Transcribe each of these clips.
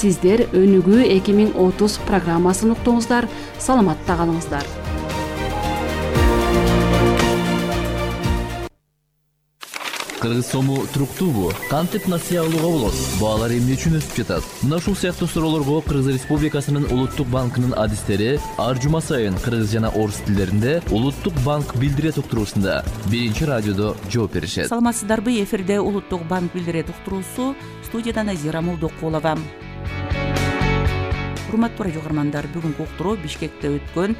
Сиздер Өнүгүү 2030 программасын уктуңуздар. Саламатта калыңыздар. Кыргыз сому туруктуубу? Кантип насыя алууга болот? Баалар эмне үчүн өсүп жатат? Мына ушул сыяктуу суроолорго Кыргыз Республикасынын Улуттук банкынын адистери ар жума сайын кыргыз жана орус тилдеринде Улуттук банк билдирет уктуруусунда биринчи радиодо жооп беришет. Саламатсыздарбы? Эфирде Улуттук банк билдирет уктуруусу, студияда Назира Молдокулова. Урматтуу радио угармандар, бүгүнкү уктуруу Бишкекте өткөн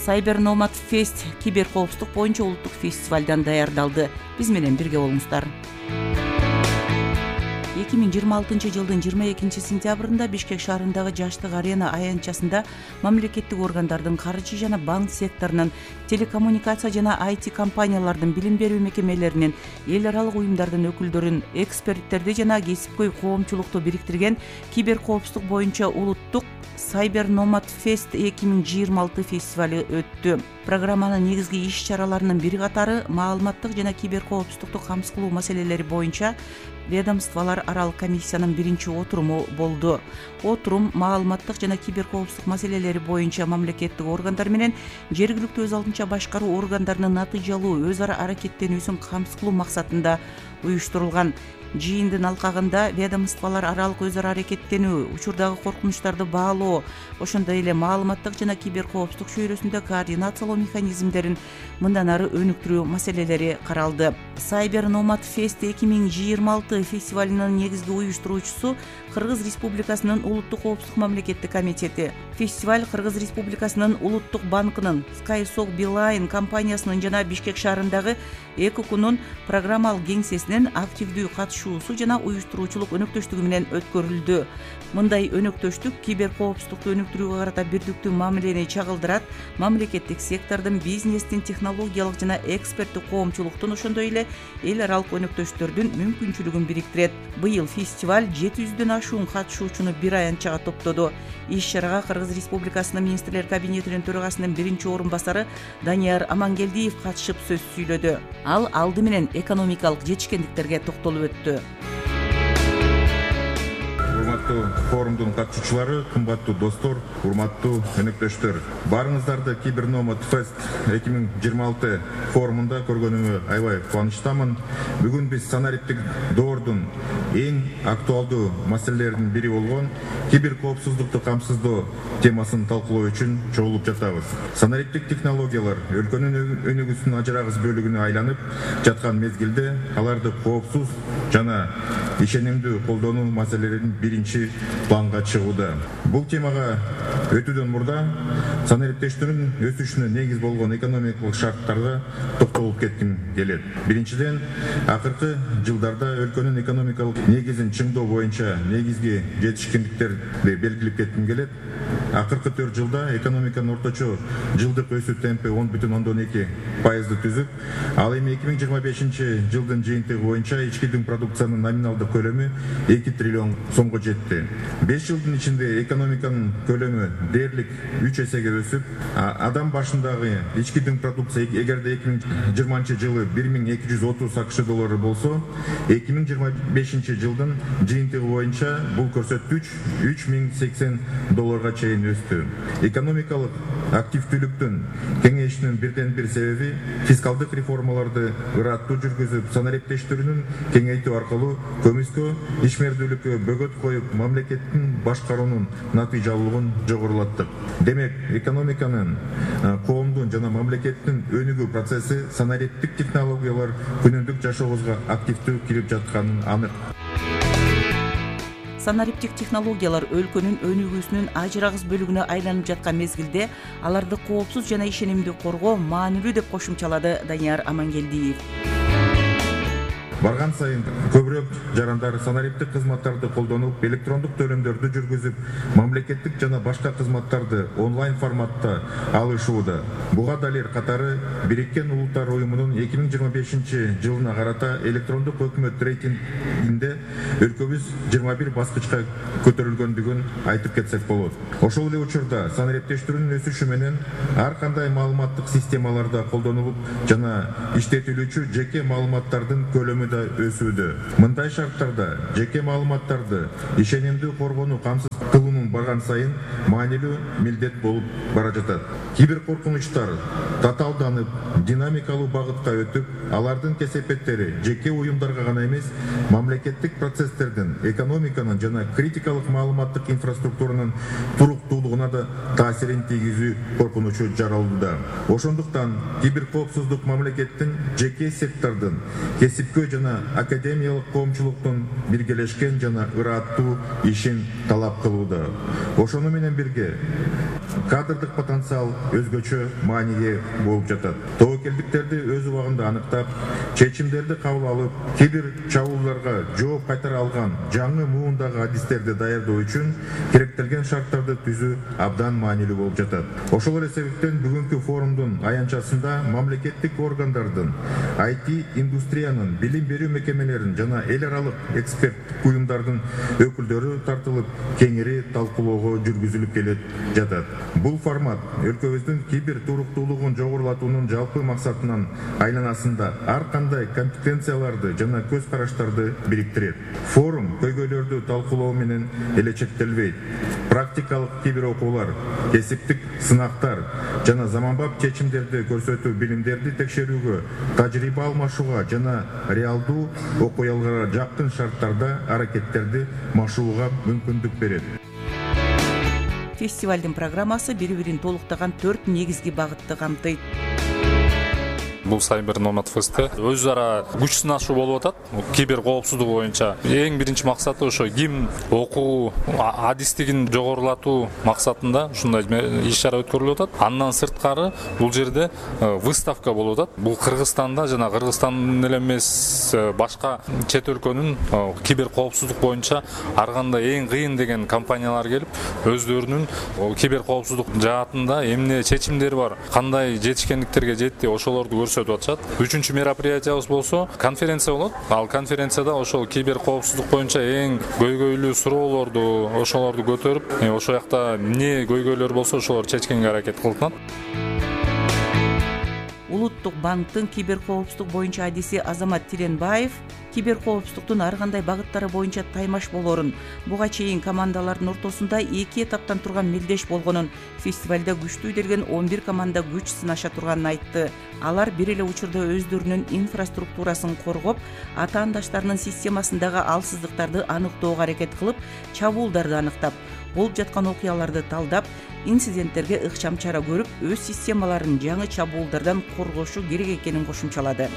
Cyber Nomad Fest кибер коопсуздук боюнча улуттук фестивалдан даярдалды. Биз менен бирге болуңуздар. 2026 жылдын 22 сентябрында Бишкек шаарындагы Жаштык арена аянтчасында мамлекеттик органдардын, каржы жана банк секторунун, телекоммуникация жана IT компаниялардын, билим берүү мекемелеринин, эл аралык уюмдардын өкүлдөрүн, эксперттерди жана кесипкөй коомчулукту бириктирген кибер коопсуздук боюнча улуттук Cyber Nomad Fest 2026 фестивали өттү. Программанын негизги иш-чараларынын бири катары маалыматтык жана кибер коопсуздукту камсыз кылуу маселелери боюнча ведомстволор аралык комиссиянын биринчи отуруму болду. Отурум маалыматтык жана кибер коопсуздук маселелери боюнча мамлекеттик органдар менен жергиликтүү өз алдынча башкаруу органдарынын натыйжалуу өз ара аракеттенүүсүн камсыз кылуу максатында уюштурулган. Жыйындын алкагында ведомстволор аралык өз ара аракеттенүү, учурдагы коркунучтарды баалоо, ошондой эле маалыматтык жана кибер коопсуздук чөйрөсүндө координациялоо механизмдерин мындан ары өнүктүрүү маселелери каралды. Cyber Nomad Fest 2026 фестивалынын негизги уюштуруучусу Кыргыз Республикасынын Улуттук коопсуздук мамлекеттик комитети. Фестиваль Кыргыз Республикасынын Улуттук банкынын, SkySoc Beeline компаниясынын жана Бишкек шаарындагы ЭККунун программалык кеңсесинин активдүү катышуусу жана уюштуруучулук өнөктөштүгү менен өткөрүлдү. Мындай өнөктөштүк кибер коопсуздукту өнүктүрүүгө карата бирдиктүү мамилени чагылдырат, мамлекеттик сектордун, бизнестин, технологиялык жана эксперттик коомчулуктун, ошондой эле эл аралык өнөктөштөрдүн мүмкүнчүлүгүн бириктирет. Быйыл фестиваль 700дөн ашуун катышуучуну бир аянтчага топтоду. Иш-чарага Кыргыз Республикасынын министрлер кабинетинин төрагасынын биринчи орун басары Данияр Амангелдиев катышып сөз сүйлөдү. Ал алды менен экономикалык жетишкендиктерге токтолуп өттү. Урматтуу форумдун катышуучулары, кымбаттуу достор, урматтуу өнөктөштөр. Барыңыздарды Cyber Nomad Fest 2026 форумунда көргөнүмө аябай кубанычтамын. Бүгүн биз санариптик доордун эң актуалдуу маселелеринин бири болгон кибер коопсуздукту камсыздоо темасын талкуулоо үчүн чогулуп жатабыз. Санариптик технологиялар өлкөнүн өнүгүүсүнүн ажырагыс бөлүгүнө айланып жаткан мезгилде аларды коопсуз жана ишенимдүү колдонуу маселелерин биринчи планга чыгууда. Бул темага өтүүдөн мурда санариптештүүнүн өсүшүнө негиз болгон экономикалык шарттарга токтолуп кетким келет. Биринчиден, акыркы жылдарда өлкөнүн экономикалык негизин чыңдоо боюнча негизги жетишкендиктерди белгилеп кетким келет. Акыркы 4 жылда экономиканын орточо жылдык өсүү темпи 10,2% түзүп, ал эми 2025 жылдын жыйынтыгы боюнча ички дүң продукциянын номиналдык көлөмү 2 триллион сомго жетти. 5 жылдын ичинде экономиканын көлөмү дээрлик 3 эсеге өсүп, адам башындагы ички дүң продукция эгерде 2020 жылы 1230 АКШ доллары болсо, 2025 жылдын жыйынтыгы боюнча бул көрсөткүч 3080 долларга чейин өстү. Экономикалык активдүүлүктүн кеңейишинин бирден бир себеби фискалдык реформаларды ыраттуу жүргүзүп, санариптештүүнүн кеңейтүү аркылуу көмүскө ишмердүүлүккө бөгөт коюп, мамлекеттин башкаруунун натыйжалуулугун жогорулаттык. Демек, экономиканын, коомдун жана мамлекеттин өнүгүү процесси санариптик технологиялар күнүмдүк жашообузга активдүү кирип жатканы анык. Санариптик технологиялар өлкөнүн өнүгүүсүнүн ажырагыс бөлүгүнө айланып жаткан мезгилде аларды коопсуз жана ишенимдүү коргоо маанилүү деп кошумчалады Данияр Амангелдиев. Барган сайын көбүрөөк жарандар санариптик кызматтарды колдонуп, электрондук төлөмдөрдү жүргүзүп, мамлекеттик жана башка кызматтарды онлайн форматта алышууда. Буга далил катары Бириккен Улуттар уюмунун 2025 жылына карата электрондук өкмөт рейтингинде өлкөбүз 21 баскычка көтөрүлгөндүгүн айтып кетсек болот. Ошол эле учурда санариптештүүнүн өсүшү менен ар кандай маалыматтык системаларда колдонулуп жана иштетилүүчү жеке маалыматтардын көлөмү да өсүүдө. Мындай шарттарда жеке маалыматтарды ишенимдүү коргонуу камсыз кылуунун барган сайын маанилүү милдет болуп бара жатат. Кибер коркунучтар татаалданып, динамикалуу багытка өтүп, алардын кесепеттери жеке уюмдарга гана эмес, мамлекеттик процесстердин, экономиканын жана критикалык маалыматтык инфраструктуранын туруктуулугуна да таасирин тийгизүү коркунучу жаралууда. Ошондуктан кибер коопсуздук мамлекеттин, жеке сектордун, кесипкөй жана академиялык коомчулуктун биргелешкен жана ырааттуу ишин талап кылууда. Ошону менен бирге кадрдык потенциал өзгөчө мааниге болуп жатат. Тобокелдиктерди өз убагында аныктап, чечимдерди кабыл алып, кибер чабуулдарга жооп кайтара алган жаңы муундагы адистерди даярдоо үчүн керектелген шарттарды түзүү абдан маанилүү болуп жатат. Ошол себептен бүгүнкү форумдун аянтчасында мамлекеттик органдардын, IT индустриянын, билим берүү мекемелеринин жана эл аралык эксперттик уюмдардын өкүлдөрү тартылып, кеңири талкуулоого жүргүзүлүп келет жатат. Бул формат өлкөбүздүн кибер туруктуулугун жогорулатуунун жалпы максатынын айланасында ар кандай компетенцияларды жана көз караштарды бириктирет. Форум көйгөйлөрдү талкуулоо менен эле чектелбейт. Практикалык кибер окуулар, кесиптик сынактар жана заманбап чечимдерди көрсөтүү, билимдерди текшерүүгө, тажрыйба алмашууга жана реалдуу окуяларга жакын шарттарда аракеттерди машууга мүмкүндүк берет. Фестивалдын программасы бири-бирин толуктаган 4 негизги багытты камтыйт. Бул Cyber Nomad Fest'te өз ара күч сынашуу болуп атат. Кибер коопсуздугу боюнча эң биринчи максаты ошо ким окуу адистигин жогорулатуу максатында ушундай иш-чара өткөрүлүп атат. Андан сырткары бул жерде выставка болуп атат. Бул Кыргызстанда жана Кыргызстандын эле эмес башка чет өлкөнүн кибер коопсуздук боюнча ар кандай эң кыйын деген компаниялар келип, өздөрүнүн кибер коопсуздук жаатында эмне чечимдери бар, кандай жетишкендиктерге жетти, ошолорду көрсөтүп атышат. Үчүнчү мероприятиябыз болсо конференция болот. Ал конференцияда ошол кибер коопсуздук боюнча эң көйгөйлүү суроолорду ошолорду көтөрүп, ошол жакта эмне көйгөйлөр болсо ошолорду чечкенге аракет кылынат. Улуттук банктын кибер коопсуздук боюнча адиси Азамат Тиренбаев кибер коопсуздуктун ар кандай багыттары боюнча таймаш болорун, буга чейин командалардын ортосунда 2 этаптан турган мелдеш болгонун, фестивалда күчтүү делген 11 команда күч сынаша турганын айтты. Алар бир эле учурда өздөрүнүн инфраструктурасын коргоп, атаандаштарынын системасындагы алсыздыктарды аныктоого аракет кылып, чабуулдарды аныктап, болуп жаткан окуяларды талдап, инциденттерге ыкчам чара көрүп, өз системаларын жаңы чабуулдардан коргошу керек экенин кошумчалады.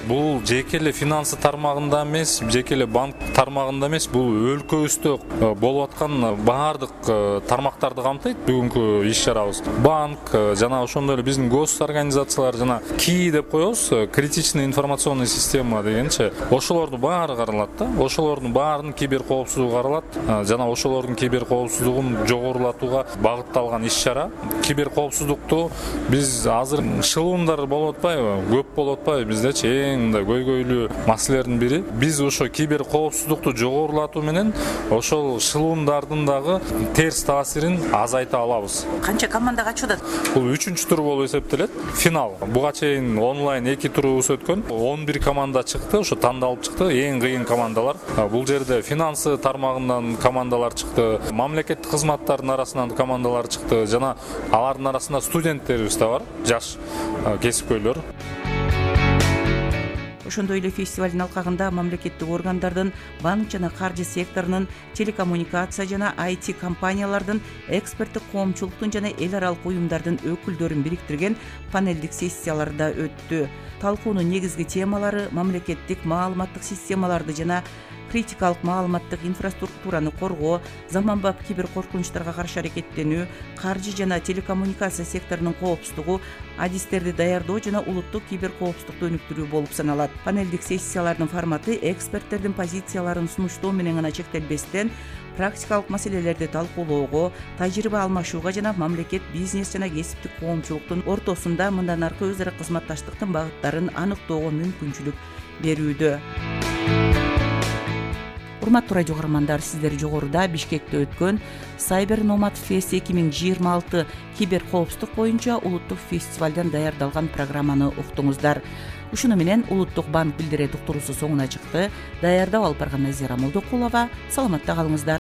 Бул жеке эле финансы тармагында эмес, жеке эле банк тармагында эмес, бул өлкөбүздө болуп аткан баардык тармактарды камтыйт бүгүнкү иш-чарабыз. Банк жана ошондой эле биздин госорганизациялар жана КИ деп коебуз, критичный информационный система дегенчи, ошолордун баары каралат да. Ошолордун баарынын кибер коопсуздугу каралат жана ошолордун кибер коопсуздугун жогорулатууга багытталган иш-чара. Кибер коопсуздукту биз азыр шылуундар болуп атпайбы, көп болуп атпайбы биздечи? Эң мындай көйгөйлүү маселелердин бири. Биз ошо кибер коопсуздукту жогорулатуу менен ошол шылуундардын дагы терс таасирин азайта алабыз. Канча команда катышат? Бул 3-чү тур болуп эсептелет. Финал. Буга чейин онлайн 2 турубуз өткөн. 11 команда чыкты, ошо тандалып чыкты. Эң кыйын командалар. Бул жерде финансы тармагынан командалар чыкты, мамлекеттик кызматтардын арасынан командалар чыкты жана алардын арасында студенттерибиз да бар, жаш кесипкөйлөр. Ошондой эле фестивалдын алкагында мамлекеттик органдардын, банк жана каржы секторунун, телекоммуникация жана IT компаниялардын, эксперттик коомчулуктун жана эл аралык уюмдардын өкүлдөрүн бириктирген панелдик сессиялар да өттү. Талкуунун негизги темалары мамлекеттик маалыматтык системаларды жана критикалык маалыматтык инфраструктураны коргоо, заманбап кибер коркунучтарга каршы аракеттенүү, каржы жана телекоммуникация секторунун коопсуздугу, адистерди даярдоо жана улуттук кибер коопсуздукту өнүктүрүү болуп саналат. Панелдик сессиялардын форматы эксперттердин позицияларын сунуштоо менен гана чектелбестен, практикалык маселелерди талкуулоого, тажрыйба алмашууга жана мамлекет, бизнес жана кесиптик коомчулуктун ортосунда мындан аркы өз ара кызматташтыктын багыттарын аныктоого мүмкүнчүлүк берүүдө. Урматтуу радио көрөрмандар, сиздер жогоруда Бишкекте өткөн Cyber Nomad Fest 2026 кибер коопсуздук боюнча улуттук фестивалдан даярдалган программаны уктуңуздар. Ушуну менен Улуттук банк билдирет уктуруусу соңуна чыкты. Даярдап алып барган Назира Молдокулова. Саламатта калыңыздар.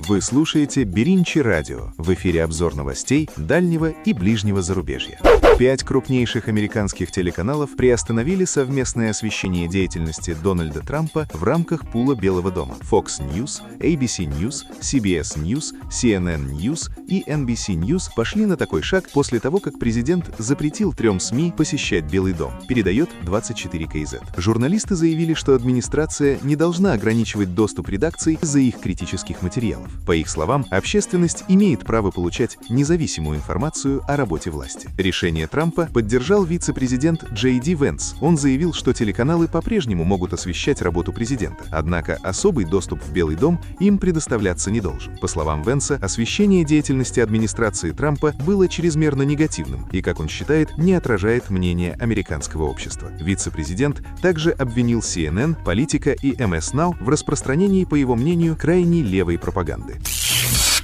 Вы слушаете Беринчи радио. В эфире обзор новостей дальнего и ближнего зарубежья. 5 крупнейших американских телеканалов приостановили совместное освещение деятельности Дональда Трампа в рамках пула Белого дома. Fox News, ABC News, CBS News, CNN News и NBC News пошли на такой шаг после того, как президент запретил 3 СМИ посещать Белый дом, передает 24KZ. Журналисты заявили, что администрация не должна ограничивать доступ редакций из-за их критических материалов. По их словам, общественность имеет право получать независимую информацию о работе власти. Решение Трампа поддержал вице-президент Джей Ди Венс. Он заявил, что телеканалы по-прежнему могут освещать работу президента, однако особый доступ в Белый дом им предоставляться не должен. По словам Венса, освещение деятельности администрации Трампа было чрезмерно негативным и, как он считает, не отражает мнение американского общества. Вице-президент также обвинил CNN, Политика и MS Now в распространении, по его мнению, крайне левой пропаганды.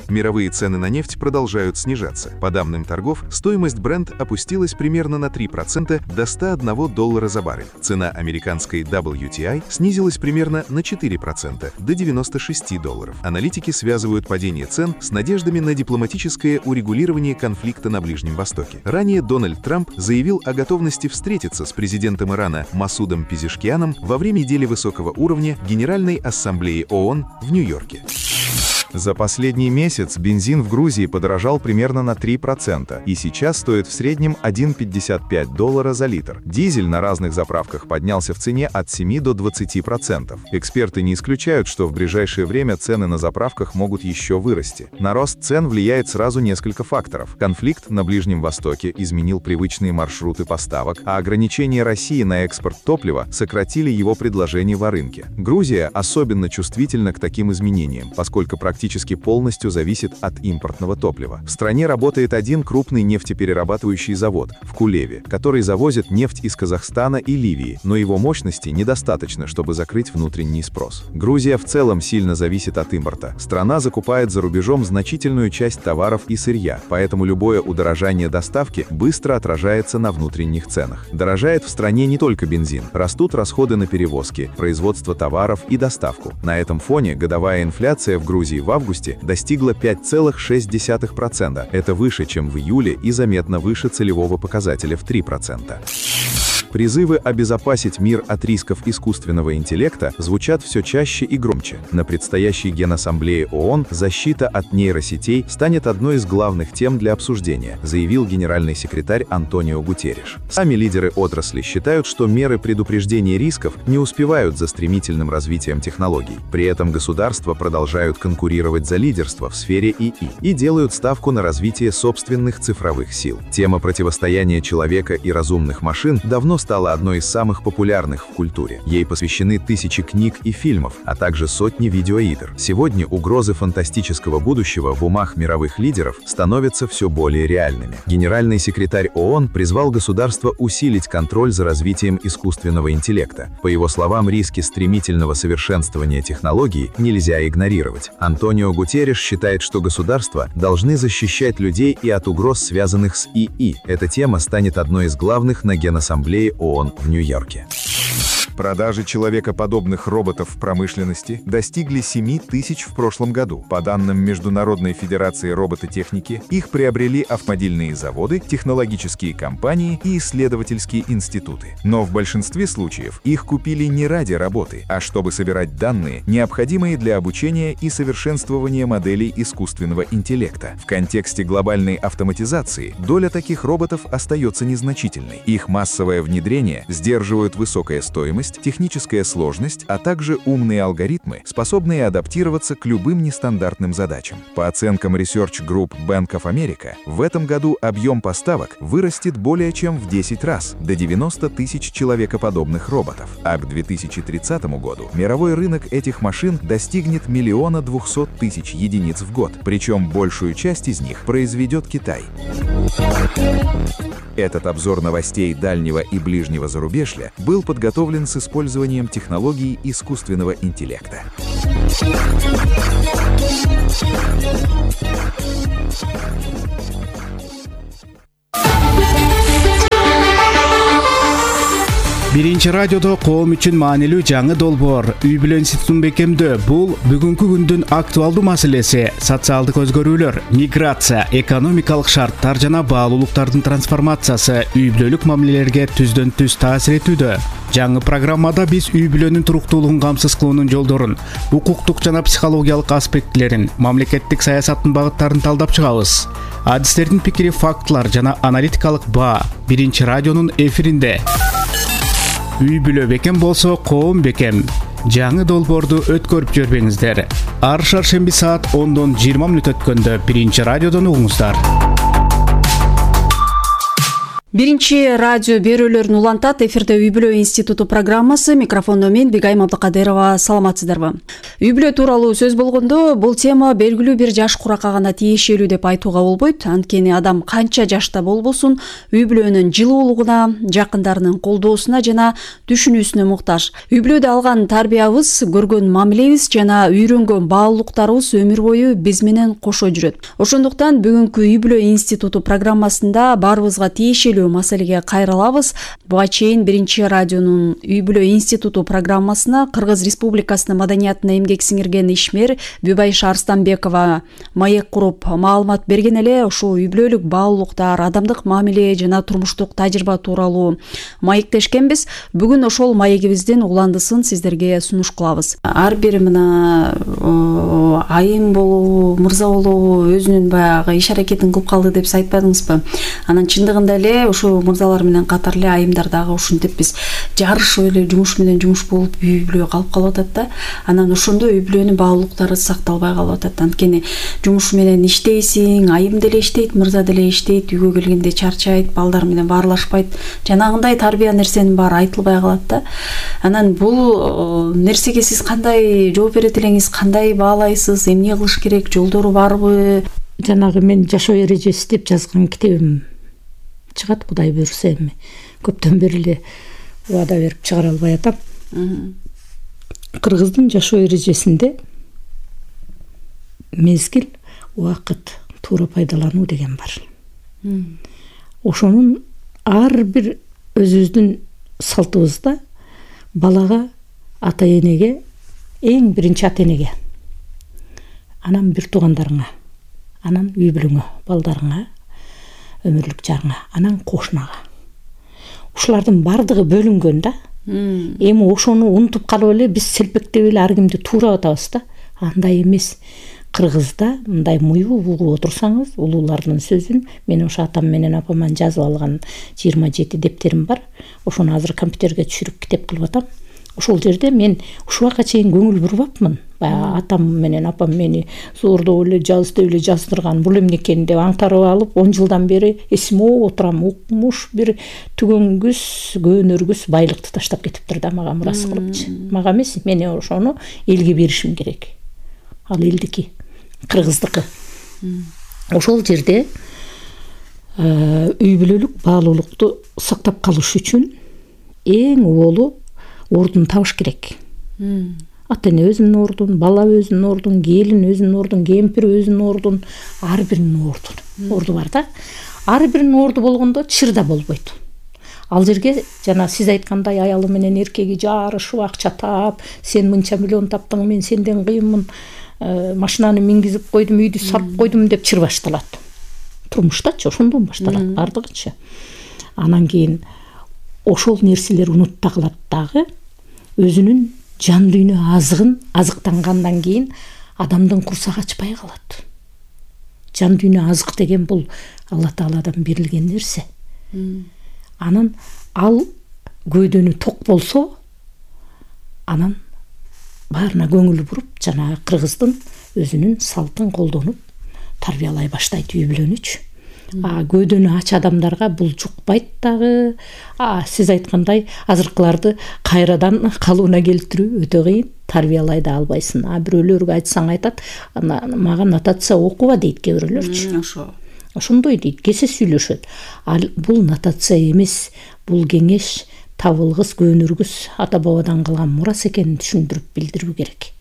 Мировые цены на нефть продолжают снижаться. По данным торгов, стоимость Brent опустилась примерно на 3% до $101 за баррель. Цена американской WTI снизилась примерно на 4% до $96. Аналитики связывают падение цен с надеждами на дипломатическое урегулирование конфликта на Ближнем Востоке. Ранее Дональд Трамп заявил о готовности встретиться с президентом Ирана Масудом Пезешкианом во время недели высокого уровня Генеральной Ассамблеи ООН в Нью-Йорке. За последний месяц бензин в Грузии подорожал примерно на 3% и сейчас стоит в среднем $1,55 за литр. Дизель на разных заправках поднялся в цене от 7 до 20%. Эксперты не исключают, что в ближайшее время цены на заправках могут еще вырасти. На рост цен влияет сразу несколько факторов. Конфликт на Ближнем Востоке изменил привычные маршруты поставок, а ограничения России на экспорт топлива сократили его предложение в рынке. Грузия особенно чувствительна к таким изменениям, поскольку практически полностью зависит от импортного топлива. В стране работает один крупный нефтеперерабатывающий завод в Кулеве, который завозит нефть из Казахстана и Ливии, но его мощности недостаточно, чтобы закрыть внутренний спрос. Грузия в целом сильно зависит от импорта. Страна закупает за рубежом значительную часть товаров и сырья, поэтому любое удорожание доставки быстро отражается на внутренних ценах. Дорожает в стране не только бензин, растут расходы на перевозки, производство товаров и доставку. На этом фоне годовая инфляция в Грузии в августе достигла 5,6%. Это выше, чем в июле и заметно выше целевого показателя в 3%. Призывы обезопасить мир от рисков искусственного интеллекта звучат все чаще и громче. На предстоящей Генассамблее ООН защита от нейросетей станет одной из главных тем для обсуждения, заявил генеральный секретарь Антонио Гутерриш. Сами лидеры отрасли считают, что меры предупреждения рисков не успевают за стремительным развитием технологий. При этом государства продолжают конкурировать за лидерство в сфере ИИ и делают ставку на развитие собственных цифровых сил. Тема противостояния человека и разумных машин давно стала одной из самых популярных в культуре. Ей посвящены тысячи книг и фильмов, а также сотни видеоигр. Сегодня угрозы фантастического будущего в умах мировых лидеров становятся все более реальными. Генеральный секретарь ООН призвал государства усилить контроль за развитием искусственного интеллекта. По его словам, риски стремительного совершенствования технологий нельзя игнорировать. Антонио Гутерриш считает, что государства должны защищать людей и от угроз, связанных с ИИ. Эта тема станет одной из главных на Генассамблее ООН в Нью-Йорке. Продажи человекоподобных роботов в промышленности достигли 7 тысяч в прошлом году. По данным Международной Федерации робототехники, их приобрели автомобильные заводы, технологические компании и исследовательские институты. Но в большинстве случаев их купили не ради работы, а чтобы собирать данные, необходимые для обучения и совершенствования моделей искусственного интеллекта. В контексте глобальной автоматизации доля таких роботов остается незначительной. Их массовое внедрение сдерживают высокая стоимость, техническая сложность, а также умные алгоритмы, способные адаптироваться к любым нестандартным задачам. По оценкам Research Group Bank of America, в этом году объем поставок вырастет более чем в 10 раз, до 90 тысяч человекоподобных роботов. А к 2030 году мировой рынок этих машин достигнет 1 200 000 единиц в год, причем большую часть из них произведет Китай. Этот обзор новостей дальнего и ближнего зарубежья был подготовлен с использованием технологий искусственного интеллекта. Биринчи радиодо коом үчүн маанилүү жаңы долбоор үй бүлө институтун бекемдөө. Бул бүгүнкү күндүн актуалдуу маселеси. Социалдык өзгөрүүлөр, миграция, экономикалык шарттар жана баалуулуктардын трансформациясы үй бүлөлүк мамилелерге түздөн түз таасир этүүдө. Жаңы программада биз үй бүлөнүн туруктуулугун камсыз кылуунун жолдорун, укуктук жана психологиялык аспектилерин, мамлекеттик саясаттын багыттарын талдап чыгабыз. Адистердин пикири, фактылар жана аналитикалык баа биринчи радионун эфиринде. Үй бүлө бекем болсо, коом бекем. Жаңы долбоорду өткөрүп жүрбөңүздөр. Ар шаршемби саат 10-дон 20 мүнөт өткөндө биринчи радиодон угуңуздар. Биринчи радио берүүлөрүн улантат. Эфирде үй бүлө институту программасы. Микрофондо мен Бигайым Абдыкадырова. Саламатсыздарбы? Үй бүлө тууралуу сөз болгондо, бул тема белгилүү бир жаш куракка гана тиешелүү деп айтууга болбойт. Анткени адам канча жашта болбосун, үй бүлөнүн жылуулугуна, жакындарынын колдоосуна жана түшүнүүсүнө муктаж. Үй бүлөдө алган тарбиябыз, көргөн мамилебиз жана үйрөнгөн баалуулуктарыбыз өмүр бою биз менен кошо жүрөт. Ошондуктан бүгүнкү үй бүлө институту программасында баарыбызга тиешелүү маселеге кайрылабыз. Буга чейин биринчи радионун үй бүлө институту программасына Кыргыз Республикасынын маданиятына эмгек сиңирген ишмер Бүбайша Арстанбекова маек куруп маалымат берген эле. Ушул үй бүлөлүк баалуулуктар, адамдык мамиле жана турмуштук тажрыйба тууралуу маектешкенбиз. Бүгүн ошол маегибиздин уландысын сиздерге сунуш кылабыз. Ар бир мына айым болобу, мырза болобу өзүнүн баягы иш аракетин кылып калды деп айтпадыңызбы? Анан чындыгында эле ошо мырзалар менен катар эле айымдар дагы ушинтип биз жарышып эле жумуш менен жумуш болуп үй бүлө калып атат да. Анан ошондо үй бүлөнүн баалуулуктары сакталбай калып атат. Анткени жумуш менен иштейсиң, айым деле иштейт, мырза деле иштейт, үйгө келгенде чарчайт, балдар менен баарлашпайт. Жанагындай тарбия нерсенин баары айтылбай калат да. Анан бул нерсеге сиз кандай жооп берет элеңиз, кандай баалайсыз, эмне кылыш керек, жолдору барбы? Жанагы мен жашоо эрежеси деп жазган китебим чыгат, Кудай буйрса. Эми көптөн бери эле убада берип чыгара албай атам. Кыргыздын жашоо эрежесинде мезгил, убакыт, туура пайдалануу деген бар. Ошонун ар бир өзүбүздүн салтыбызда балага, ата энеге, эң биринчи ата энеге, анан бир туугандарыңа, анан үй бүлөңө, балдарыңа, өмүрлүк жарыңа, анан кошунага. Ушулардын бардыгы бөлүнгөн да. Эми ошону унутуп калып эле биз селпектеп эле ар кимди туура атабыз да. Андай эмес. Кыргызда мындай муюу угуп отурсаңыз, улуулардын сөзүн, мен ошо атам менен апаман жазып алган 27 дептерим бар. Ошону азыр компьютерге түшүрүп китеп кылып атам. Ошол жерде мен ушуга чейин көңүл бурбапмын. Баягы атам менен апам мени зордоп эле жазды эле жаздырган, бул эмне экен деп аңтарып алып, 10 жылдан бери эсиме отурам. Укмуш бир түгөнгүс, көөнөргүс байлыкты таштап кетиптир да мага мурас кылыпчы. Мага эмес, мен ошону элге беришим керек. Ал элдики, кыргыздыкы. Ошол жерде үй бүлөлүк баалуулукту сактап калыш үчүн эң оболу ордун табыш керек. Ата эне өзүнүн ордун, бала өзүнүн ордун, келин өзүнүн ордун, кемпир өзүнүн ордун, ар биринин орду бар да. Ар биринин орду болгондо чырда болбойт. Ал жерге жана сиз айткандай аялы менен эркеги жарышып, акча таап, сен мынча миллион таптың, мен сенден кыйынмын, машинаны мингизип койдум, үйдү сатып койдум деп чыр башталат. Турмуштачы ошондон башталат бардыгычы. Анан кийин ошол нерселер унутта калат дагы. Өзүнүн жан дүйнө азыгын азыктангандан кийин адамдын курсагы ачпай калат. Жан дүйнө азык деген бул Алла Тааладан берилген нерсе. Анан ал көйдөнү ток болсо, анан баарына көңүл буруп, жана кыргыздын өзүнүн салтын колдонуп тарбиялай баштайт үй бүлөнүчү. Көйдөнү ач адамдарга бул жукпайт дагы. Сиз айткандай азыркыларды кайрадан калыбына келтирүү өтө кыйын, тарбиялай да албайсың. Бирөөлөргө айтсаң айтат, мага нотация окуба дейт кээ бирөөлөрчү. ошондой дейт, кесе сүйлөшөт. Ал бул нотация эмес, бул кеңеш, табылгыс, көнүргүс ата бабадан калган мурас экенин түшүндүрүп билдирүү керек.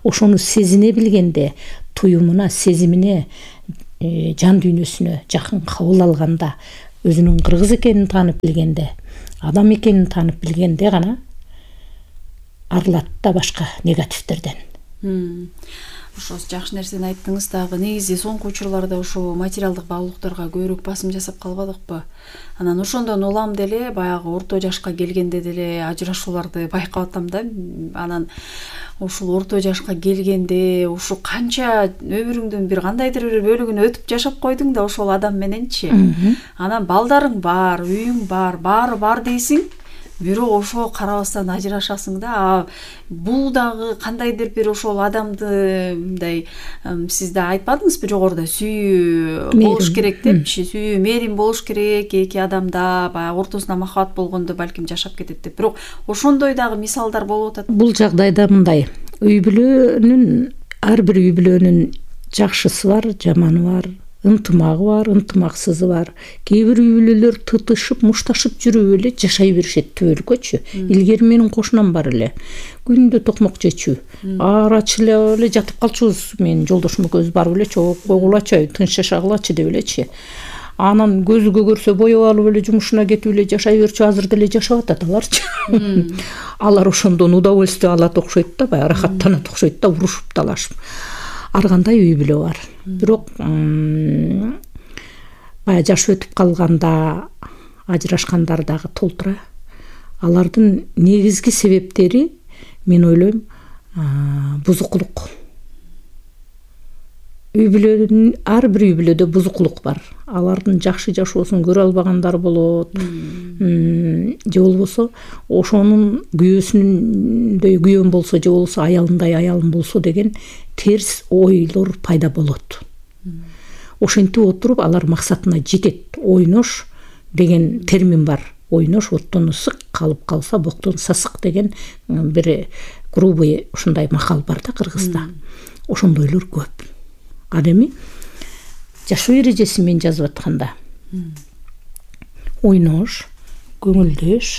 Ошону сезине билгенде, туюмуна, сезимине, жан дүйнөсүнө жакын кабыл алганда, өзүнүн кыргыз экенин таанып билгенде, адам экенин таанып билгенде гана арылат да башка негативтерден. Ошо жакшы нерсени айттыңыз. Дагы негизи соңку учурларда ошо материалдык баалуулуктарга көбүрөөк басым жасап калбадыкпы? Анан ошондон улам деле баягы орто жашка келгенде деле ажырашууларды байкап атам да. Анан ушул орто жашка келгенде ушу канча өмүрүңдүн бир кандайдыр бир бөлүгүн өтүп жашап койдуң да ошол адам мененчи. Анан балдарың бар, үйүң бар, баары бар дейсиң. Бирок ошо карабастан ажырашасың да. Бул дагы кандайдыр бир ошол адамды мындай сиз да айтпадыңызбы жогоруда, сүйүү болуш керек депчи, сүйүү, мээрим болуш керек эки адамда, баягы ортосунда махабат болгондо балким жашап кетет деп. Бирок ошондой дагы мисалдар болуп атат. Бул жагдайда мындай, үй бүлөнүн, ар бир үй бүлөнүн жакшысы бар, жаманы бар, ынтымагы бар, ынтымаксызы бар. Кээ бир үй бүлөлөр тытышып, мушташып жүрүп эле жашай беришет түбөлүккөчү. Илгери менин кошунам бар эле. Күндө токмок жечү. Арачылап эле жатып калчубуз. Менин жолдошум экөөбүз барып эле койгулачы, тынч жашагылачы деп элечи. Анан көзүгө көрсө боеп алып эле жумушуна кетип эле жашай берчү. Азыр деле жашап атат аларчы. Алар ошондон удовольствие алат окшойт да, баягы рахаттанат окшойт да, урушуп талашып. Ар кандай үй бүлө бар. Бирок баягы жаш өтүп калганда ажырашкандар дагы толтура. Алардын негизги себептери, мен ойлойм, бузукулук. Үй бүлөнүн, ар бир үй бүлөдө бузукулук бар. Алардын жакшы жашоосун көрө албагандар болот. Же болбосо ошонун күйөөсүндөй күйөөм болсо, же болбосо аялындай аялым болсо деген терс ойлор пайда болот. Ошентип отуруп алар максатына жетет. Ойнош деген термин бар. Ойнош оттон ысык, калып калса боктон сасык деген бир грубый ушундай макал бар да Кыргызда. Ошондойлор көп. Ал эми жашоо эрежеси менен жазып атканда ойнош, көңүлдөш,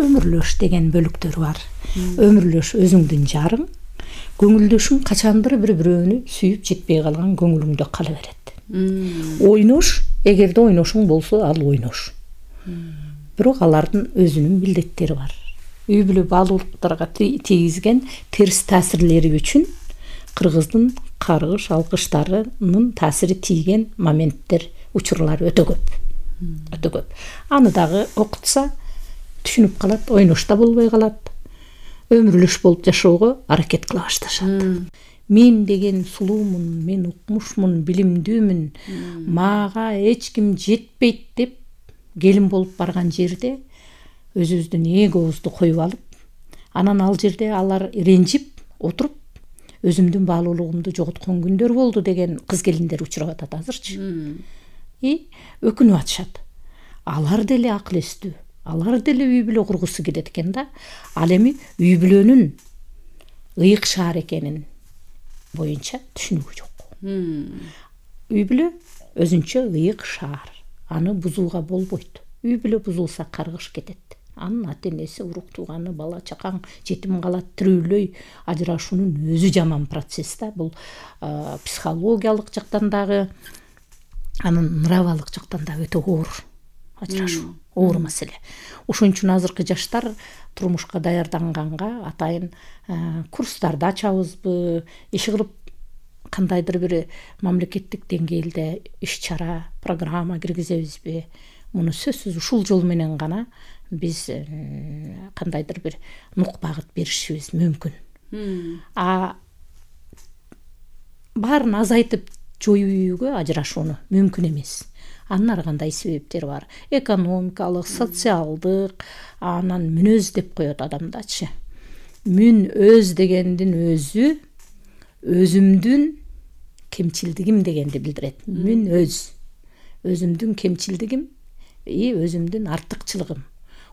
өмүрлөш деген бөлүктөр бар. Өмүрлөш өзүңдүн жарың, көңүлдөшүң качандыр бири-бирөөнү сүйүп жетпей калган көңүлүңдө кала берет. Ойнош, эгерде ойношуң болсо, ал ойнош. Бирок алардын өзүнүн милдеттери бар. Үй бүлө баалуулуктарга тийгизген терс таасирлери үчүн кыргыздын каргыш алкыштарынын таасири тийген моменттер, учурлар өтө көп. Өтө көп. Аны дагы окутса түшүнүп калат, ойношта болбой калат. Өмүрлөш болуп жашоого аракет кыла башташат. Мен деген сулуумун, мен укмушмун, билимдүүмүн, мага эч ким жетпейт деп келин болуп барган жерде өзүбүздүн эгоубузду коюп алып, анан ал жерде алар ренжип отуруп, өзүмдүн баалуулугумду жоготкон күндөр болду деген кыз келиндер учурап атат азырчы. Өкүнүп атышат. Алар деле акыл эстүү, алар деле үй бүлө кургусу келет экен да. Ал эми үй бүлөнүн ыйык шаар экенин боюнча түшүнүгү жок. Үй бүлө өзүнчө ыйык шаар. Аны бузууга болбойт. Үй бүлө бузулса каргыш кетет. Анын ата энеси, урук тууганы, бала чакаң жетим калат, тирүүлөй. Ажырашуунун өзү жаман процесс да. Бул психологиялык жактан дагы, анын нравалык жактан дагы өтө оор. Ажырашуу оор маселе. Ошон үчүн азыркы жаштар турмушка даярданганга атайын курстарды ачабызбы, иш кылып кандайдыр бир мамлекеттик деңгээлде иш чара, программа киргизебизби? Муну сөзсүз ушул жол менен гана биз кандайдыр бир нук багыт беришибиз мүмкүн. Баарын азайтып жоюуга ажырашууну мүмкүн эмес. Анын ар кандай себептери бар. Экономикалык, социалдык, анан мүнөз деп коет адамдачы. Мүн өз дегендин өзү өзүмдүн кемчилдигим дегенди билдирет. Мүн өз. Өзүмдүн кемчилдигим, өзүмдүн артыкчылыгым.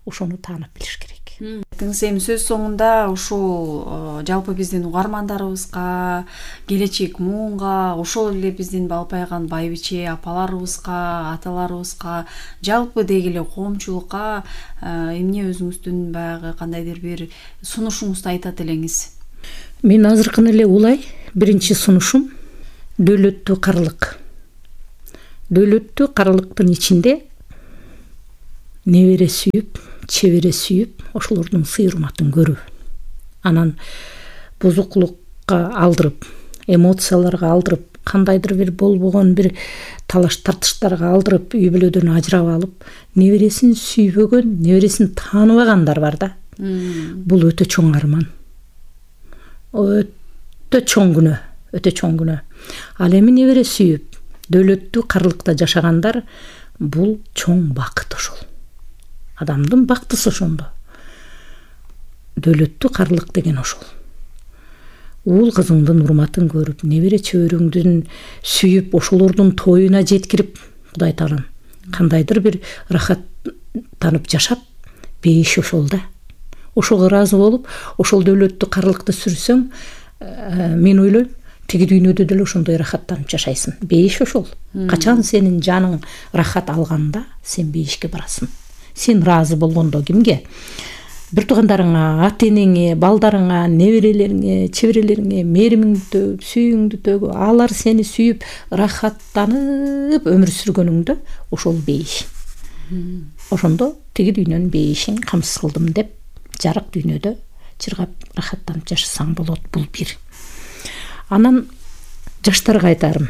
Ошону таанып билиш керек. Эми сөз соңунда ушул жалпы биздин угармандарыбызга, келечек муунга, ошол эле биздин балпайган байбиче апаларыбызга, аталарыбызга, жалпы деги эле коомчулукка эмне өзүңүздүн баягы кандайдыр бир сунушуңузду айтат элеңиз? Мен азыркын эле улай биринчи сунушум дөөлөттүү карылык. Дөөлөттүү карылыктын ичинде небере сүйүп, чебере сүйүп, ошолордун сый урматын көрүү. Анан бузукулукка алдырып, эмоцияларга алдырып, кандайдыр бир болбогон бир талаш тартыштарга алдырып, үй бүлөдөн ажырап алып, небересин сүйбөгөн, небересин тааныбагандар бар да. Бул өтө чоң арман. Өтө чоң күнөө, өтө чоң күнөө. Ал эми небере сүйүп, дөөлөттүү карылыкта жашагандар, бул чоң бакыт ошол. Адамдын бактысы ошондо. Дөөлөттүү карылык деген ошол. Уул кызыңдын урматын көрүп, небере чөбөрөңдүн сүйүп, ошолордун тоюна жеткирип, Кудай таалам кандайдыр бир рахаттанып жашап, бейиш ошол да. Ошого ыраазы болуп, ошол дөөлөттүү карылыкты сүрсөң, мен ойлойм, тиги дүйнөдө деле ошондой рахаттанып жашайсың. Бейиш ошол. Качан сенин жаның рахат алганда, сен бейишке барасың. Сен ыраазы болгондо кимге? Бир туугандарыңа, ата-энеңе, балдарыңа, неберелериңе, чеберелериңе мээримиңди төгүп, сүйүүңдү төгүп, алар сени сүйүп, рахаттанып өмүр сүргөнүңдө ошол бейиш. Ошондо тиги дүйнөнүн бейишин камсыз кылдым деп, жарык дүйнөдө чыргап рахаттанып жашасаң болот. Бул бир. Анан жаштарга айтарым.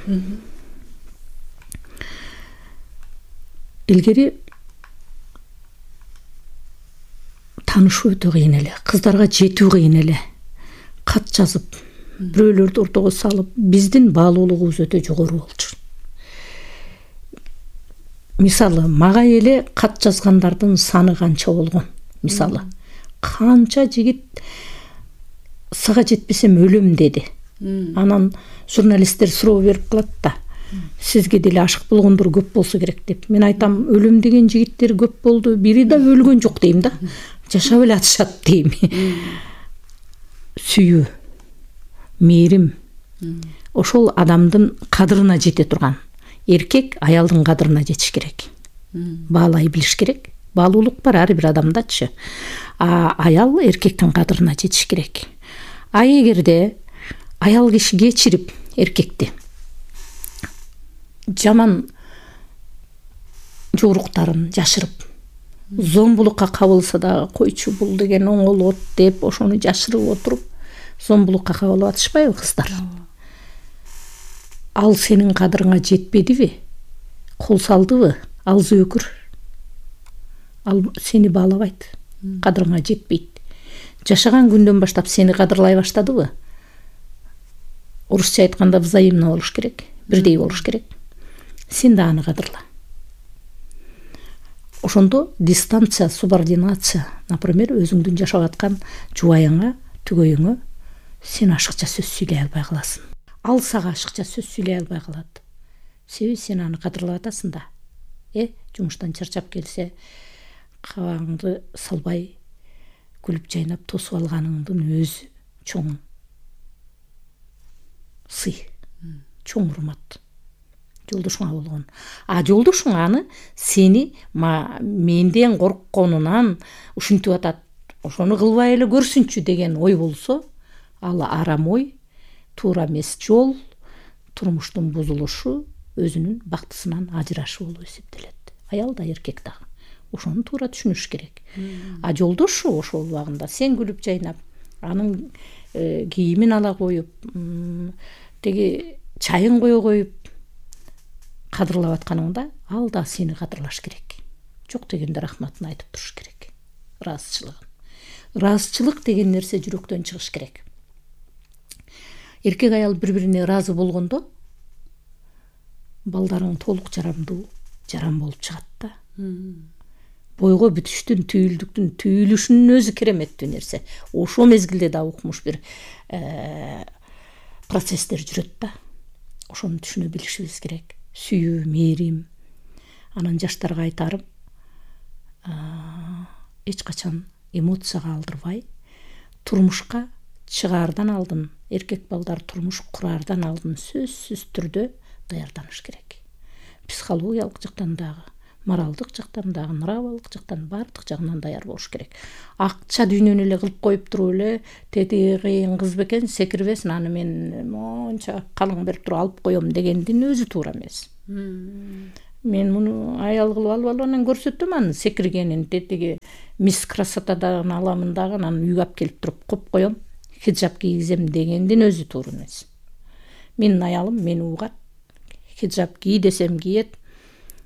Илгери таанышуу өтө кыйын эле, кыздарга жетүү кыйын эле. Кат жазып, бирөөлөрдү ортого салып, биздин баалуулугубуз өтө жогору болчу. Мисалы, мага эле кат жазгандардын саны канча болгон. Мисалы, канча жигит сага жетпесем өлөм деди. Анан журналисттер суроо берип калат да. Сизге деле ашык болгондор көп болсо керек деп. Мен айтам, өлөм деген жигиттер көп болду, бири да өлгөн жок дейм да. Жашап эле атышат дейм. Сүйүү, мээрим, ошол адамдын кадырына жете турган. Эркек аялдын кадырына жетиш керек. Баалай билиш керек. Баалуулук бар ар бир адамдачы. Аял эркектин кадырына жетиш керек. Эгерде аял киши кечирип эркекти жаман жоруктарын жашырып, зомбулукка кабылса да койчу бул деген оңолот деп ошону жашырып отуруп, зомбулукка кабылып атышпайбы кыздар? Ал сенин кадырыңа жетпедиби? Кол салдыбы? Ал зөөкүр. Ал сени баалабайт. Кадырыңа жетпейт. Жашаган күндөн баштап сени кадырлай баштадыбы? Орусча айтканда взаимно болуш керек, бирдей болуш керек. Сен да аны кадырла. Ошондо дистанция, субординация, например, өзүңдүн жашап аткан жубайыңа, түгөйүңө сен ашыкча сөз сүйлөй албай каласың. Ал сага ашыкча сөз сүйлөй албай калат. Себеби сен аны кадырлап атасың да. Жумуштан чарчап келсе, кабагыңды салбай, күлүп жайнап тосуп алганыңдын өзү чоң сый, чоң урмат. Жолдошуңа болгон. Жолдошуң аны сени менден коркконунан ушинтип атат, ошону кылбай эле көрсүнчү деген ой болсо, ал арам ой, туура эмес жол, турмуштун бузулушу, өзүнүн бактысынан ажырашы болуп эсептелет. Аял да эркек дагы. Ошону туура түшүнүш керек. Жолдошу ошол убагында сен күлүп жайнап, анын кийимин ала коюп, теги чайын кое коюп кадырлап атканыңда, ал да сени кадырлаш керек. Жок дегенде рахматын айтып туруш керек. Ыраазычылыгын. Ыраазычылык деген нерсе жүрөктөн чыгыш керек. Эркек аял бири-бирине ыраазы болгондо балдарың толук жарам болуп чыгат да. Бойго бүтүштүн, түйүлдүктүн түйүлүшүнүн өзү кереметтүү нерсе. Ошо мезгилде да укмуш бир процесстер жүрөт да. Ошону түшүнө билишибиз керек. Сүйүү, мээрим. Анан жаштарга айтарым, эч качан эмоцияга алдырбай, турмушка чыгаардан алдын, эркек балдар турмуш кураардан алдын сөзсүз түрдө даярданыш керек. Психологиялык жактан дагы, моралдык жактан дагы, нравалык жактан баардык жагынан даяр болуш керек. Акча дүйнөнү эле кылып коюп туруп эле тети кыйын кыз бекен секирбесин, аны мен монча калың берип туруп алып коем дегендин өзү туура эмес. Мен муну аял кылып алып анан көрсөтөм, анын секиргенин, тетиги мисс красотадан аламын дагы, анан үйгө алып келип туруп коюп коем, хиджаб кийгизем дегендин өзү туура эмес. Менин аялым мени угат, хиджаб кий десем киет,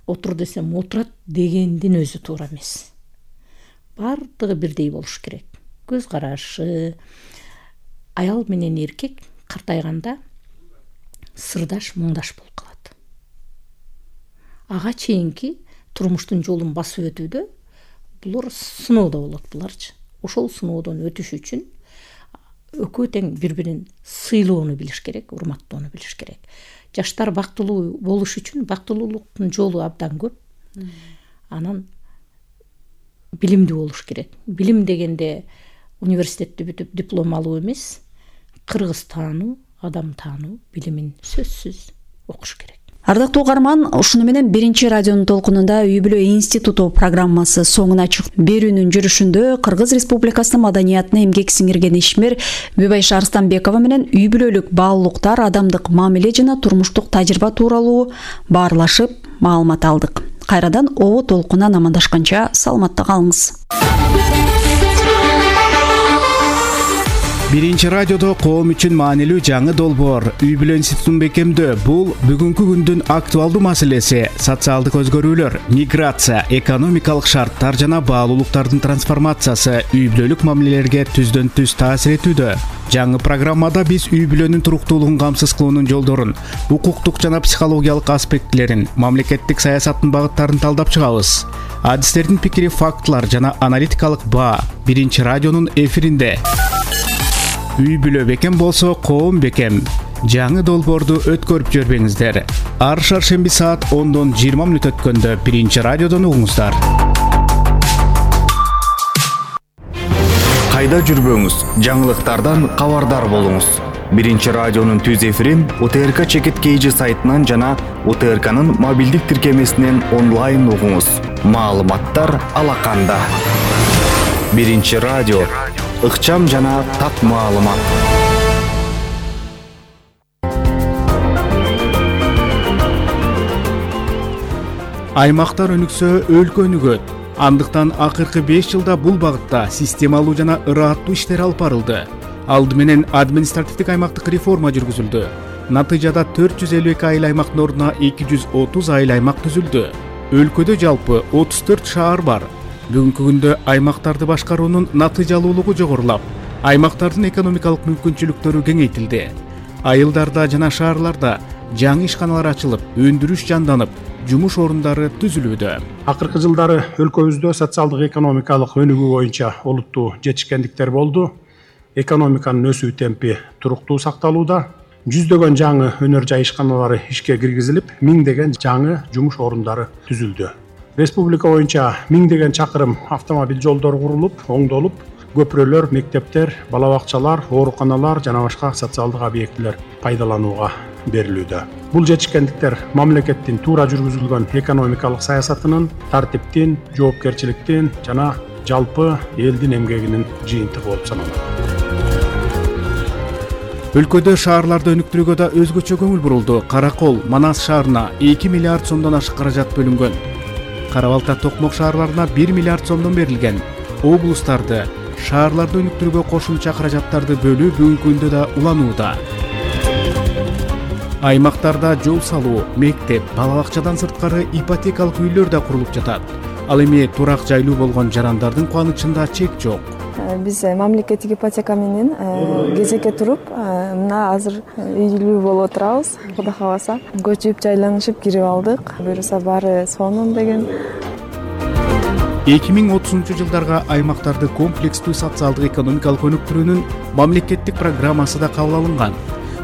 отур десем отурат дегендин өзү туура эмес. Бардыгы бирдей болуш керек. Көз карашы, аял менен эркек картайганда сырдаш, муңдаш болуп калат. Ага чейинки турмуштун жолун басып өтүүдө булар сыноодо болот буларчы. Ошол сыноодон өтүш үчүн экөө тең бири-бирин сыйлоону билиш керек, урматтоону билиш керек. Жаштар бактылуу болуш үчүн бактылуулуктун жолу абдан көп. Анан билимдүү болуш керек. Билим дегенде университетти бүтүп диплом алуу эмес, кыргыз таануу, адам таануу билимин сөзсүз окуш керек. Ардактуу угарман, ушуну менен биринчи радионун толкунунда Үй бүлө институту программасы соңуна чыкты. Берүүнүн жүрүшүндө Кыргыз Республикасынын маданиятына эмгек сиңирген ишмер Бүбайша Арстанбекова менен үй бүлөлүк баалуулуктар, адамдык мамиле жана турмуштук тажрыйба тууралуу баарлашып маалымат алдык. Кайрадан обо толкунан амандашканча саламатта калыңыз. Биринчи радиодо коом үчүн маанилүү жаңы долбоор Үй бүлө институтун бекемдөө. Бул бүгүнкү күндүн актуалдуу маселеси. Социалдык өзгөрүүлөр, миграция, экономикалык шарттар жана баалуулуктардын трансформациясы үй бүлөлүк мамилелерге түздөн түз таасир этүүдө. Жаңы программада биз үй бүлөнүн туруктуулугун камсыз кылуунун жолдорун, укуктук жана психологиялык аспектилерин, мамлекеттик саясаттын багыттарын талдап чыгабыз. Адистердин пикири, фактылар жана аналитикалык баа биринчи радионун эфиринде. Үй бүлө бекем болсо, коом бекем. Жаңы долбоорду өткөрүп жүрбөңүздөр. Ар шаршемби саат 10-дон 20 мүнөт өткөндө биринчи радиодон угуңуздар. Кайда жүрбөңүз, жаңылыктардан кабардар болуңуз. Биринчи радионун түз эфирин УТРК Чекит KG сайтынан жана УТРКнын мобилдик тиркемесинен онлайн угуңуз. Маалыматтар алаканда. Биринчи радио, ыкчам жана так маалымат. Аймактар өнүксө, өлкө өнүгөт. Андыктан акыркы 5 жылда бул багытта системалуу жана ырааттуу иштер алып барылды. Алды менен административдик аймактык реформа жүргүзүлдү. Натыйжада 452 айыл аймактын ордуна 230 айыл аймак түзүлдү. Өлкөдө жалпы 34 шаар бар. Бүгүнкү күндө аймактарды башкаруунун натыйжалуулугу жогорулап, аймактардын экономикалык мүмкүнчүлүктөрү кеңейтилди. Айылдарда жана шаарларда жаңы ишканалар ачылып, өндүрүш жанданып, жумуш орундары түзүлүүдө. Акыркы жылдары өлкөбүздө социалдык экономикалык өнүгүү боюнча олуттуу жетишкендиктер болду. Экономиканын өсүү темпи туруктуу сакталууда. Жүздөгөн жаңы өнөр жай ишканалары ишке киргизилип, миңдеген жаңы жумуш орундары түзүлдү. Республика боюнча миңдеген чакырым автомобиль жолдору курулуп, оңдолуп, көпүрөлөр, мектептер, бала бакчалар, ооруканалар жана башка социалдык объектилер пайдаланууга берилүүдө. Бул жетишкендиктер мамлекеттин туура жүргүзүлгөн экономикалык саясатынын, тартиптин, жоопкерчиликтин жана жалпы элдин эмгегинин жыйынтыгы болуп саналат. Өлкөдө шаарларды өнүктүрүүгө да өзгөчө көңүл бурулду. Каракол, Манас шаарына 2 миллиард сомдон ашык каражат бөлүнгөн. Кара Балта, Токмок шаарларына 1 миллиард сомдон берилген. Облустарды, шаарларды өнүктүрүүгө кошумча каражаттарды бөлүү бүгүнкү күндө да уланууда. Аймактарда жол салуу, мектеп, бала бакчадан сырткары ипотекалык үйлөр да курулуп жатат. Ал эми турак жайлуу болгон жарандардын кубанычында чек жок. Биз мамлекеттик ипотека менен кезекке туруп, мына азыр үйлүү болуп отурабыз. Кудай кааласа, көчүп жайланышып кирип алдык. Буюрса баары сонун деген. 2030-жылдарга аймактарды комплекстүү социалдык экономикалык өнүктүрүүнүн мамлекеттик программасы да кабыл алынган.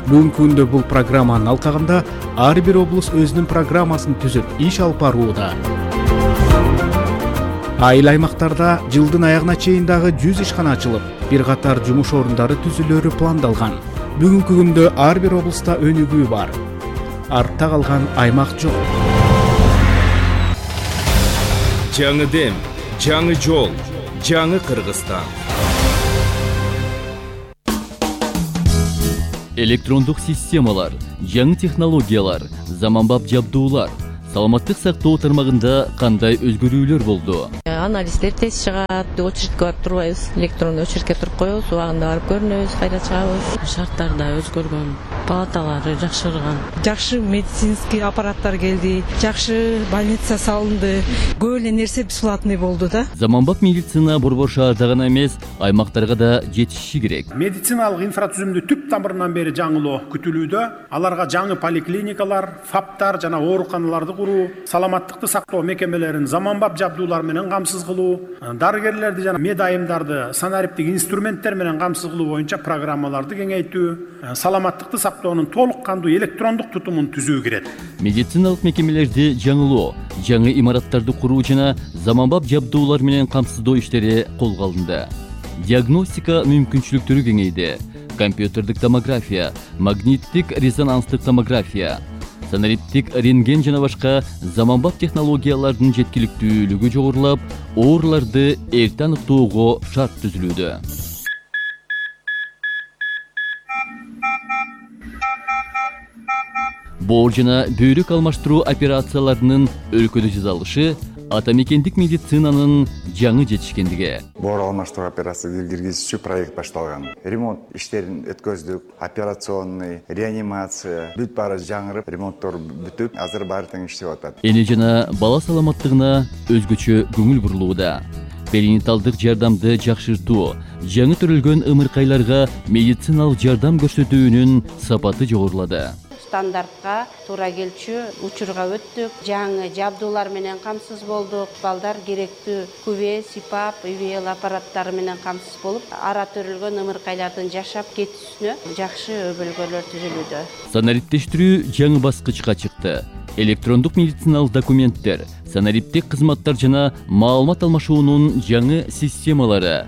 Бүгүнкү күндө бул программанын алкагында ар бир облус өзүнүн программасын түзүп иш алып барууда. Айыл аймактарда жылдын аягына чейин дагы 100 ишкана ачылып, бир катар жумуш орундары түзүлөрү пландалган. Бүгүнкү күндө ар бир облуста өнүгүү бар. Артта калган аймак жок. Жаңы дем, жаңы жол, жаңы Кыргызстан. Электрондук системалар, жаңы технологиялар, заманбап жабдуулар, саламаттык сактоо тармагында кандай өзгөрүүлөр болду? Анализдер тез чыгат, очередке барып турбайбыз, электрондуу очередке туруп коебуз, убагында барып көрүнөбүз, кайра чыгабыз. Шарттар да өзгөргөн, палаталары жакшырган. Жакшы медицинский аппараттар келди, жакшы больница салынды, көп эле нерсе бесплатный болду да. Заманбап медицина борбор шаарда гана эмес, аймактарга да жетиши керек. Медициналык инфратүзүмдү түп тамырынан бери жаңылоо күтүлүүдө. Аларга жаңы поликлиникалар, ФАПтар жана ооруканаларды куруу, саламаттыкты сактоо мекемелерин заманбап жабдуулар менен камсыз кылуу, дарыгерлерди жана медайымдарды санариптик инструменттер менен камсыз кылуу боюнча программаларды кеңейтүү, саламаттыкты сактоонун толук кандуу электрондук тутумун түзүү кирет. Медициналык мекемелерди жаңылоо, жаңы имараттарды куруу жана заманбап жабдуулар менен камсыздоо иштери колго алынды. Диагностика мүмкүнчүлүктөрү кеңейди. Компьютердик томография, магниттик резонанстык томография, санариптик рентген жана башка заманбап технологиялардын жеткиликтүүлүгү жогорулап, ооруларды эрте аныктоого шарт түзүлүүдө. Боор жана бөйрөк алмаштыруу операцияларынын өлкөдө жасалышы атамекендик медицинанын жаңы жетишкендиги. Боор алмаштыруу операциясы киргизүүчү проект башталган. Ремонт иштерин өткөздүк, операционный, реанимация бүт баары жаңырып, ремонттор бүтүп, азыр баары тең иштеп атат. Эне жана бала саламаттыгына өзгөчө көңүл бурулууда. Перинаталдык жардамды жакшыртуу, жаңы төрөлгөн ымыркайларга медициналык жардам көрсөтүүнүн сапаты жогорулады. Стандартка туура келчү учурга өттүк, жаңы жабдуулар менен камсыз болдук, балдар керектүү күбө, сипап, ИВЛ аппараттары менен камсыз болуп, ара төрөлгөн ымыркайлардын жашап кетүүсүнө жакшы өбөлгөлөр түзүлүүдө. Санариптештирүү жаңы баскычка чыкты. Электрондук медициналык документтер, санариптик кызматтар жана маалымат алмашуунун жаңы системалары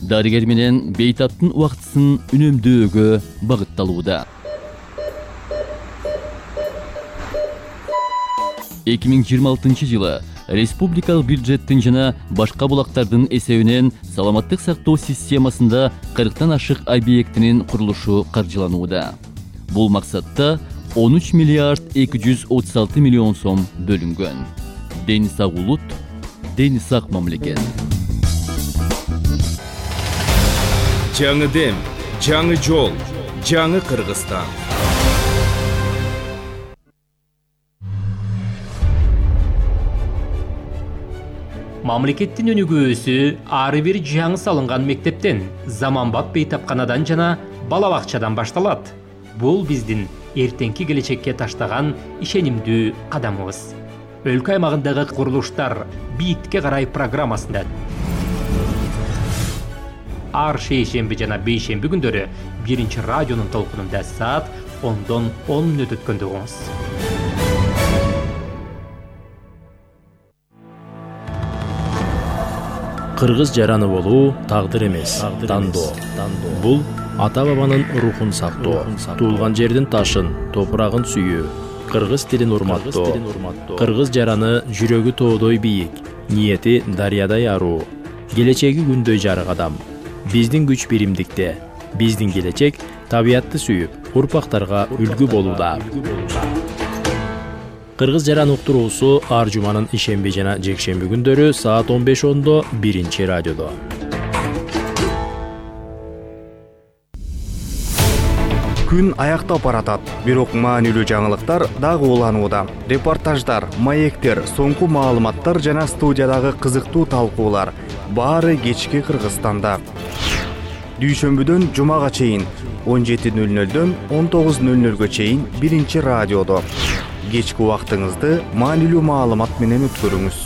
дарыгер менен бейтаптын убактысын үнөмдөөгө багытталууда. 2026 жылы республикалык бюджеттин жана башка булактардын эсебинен саламаттык сактоо системасында 40тан ашык объектинин курулушу каржыланууда. Бул максатта 13 миллиард 236 миллион сом бөлүнгөн. Дени сак улут, дени сак мамлекет. Жаңы дем, жаңы жол, жаңы Кыргызстан. Мамлекеттин өнүгүүсү ары бир жаңы салынган мектептен, заманбап бейтапканадан жана бала бакчадан башталат. Бул биздин эртеңки келечекке таштаган ишенимдүү кадамыбыз. Өлкө аймагындагы курулуштар бийтикке карай программасында ар шейшемби жана бейшемби күндөрү биринчи радионун толкунунда саат 10дон 10 мүнөт өткөндө угуңуз. Кыргыз жараны болуу тагдыр эмес, тандоо. Бул ата бабанын рухун сактоо, туулган жердин ташын, топурагын сүйүү, кыргыз тилин урматтоо, кыргыз жараны жүрөгү тоодой бийик, ниети дарыядай аруу, келечеги күндөй жарык адам. Биздин күч биримдикте, биздин келечек табиятты сүйүп, урпактарга үлгү болууда. Кыргыз жаран уктуруусу ар жуманын ишемби жана жекшемби күндөрү саат 15:10 биринчи радиодо. Күн аяктап баратат, бирок маанилүү жаңылыктар дагы уланууда. Репортаждар, маектер, соңку маалыматтар жана студиядагы кызыктуу талкуулар баары кечки Кыргызстанда. Дүйшөмбүдөн жумага чейин 17:00дөн 19:00га чейин биринчи радиодо. Кечки убактыңызды маанилүү маалымат менен өткөрүңүз.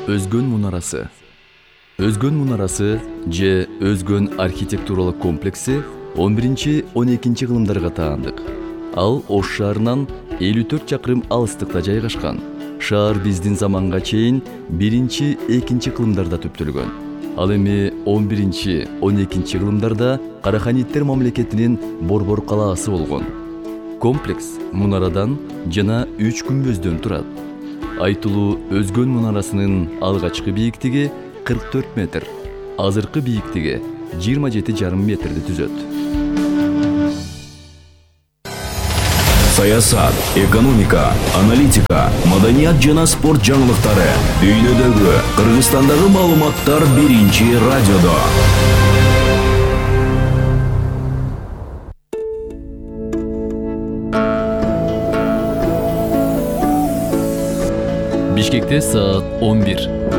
Өзгөн мунарасы. Өзгөн мунарасы же Өзгөн архитектуралык комплекси 11-12 кылымдарга таандык. Ал Ош шаарынан 54 чакырым алыстыкта жайгашкан. Шаар биздин заманга чейин 1-2 кылымдарда түптөлгөн. Ал эми 11-12 кылымдарда Караханиттер мамлекетинин Борбор калаасы болгон. Комплекс мунарадан жана 3 күмбөздөн турат. Айтылуу Өзгөн мунарасынын алгачкы бийиктиги 44 метр, азыркы бийиктиги 27,5 метрди түзөт. Саясат, экономика, аналитика, маданият жана спорт жаңылыктары дүйнөдөгү, Кыргызстандагы маалыматтар биринчи радиодо. Бишкекте саат 11.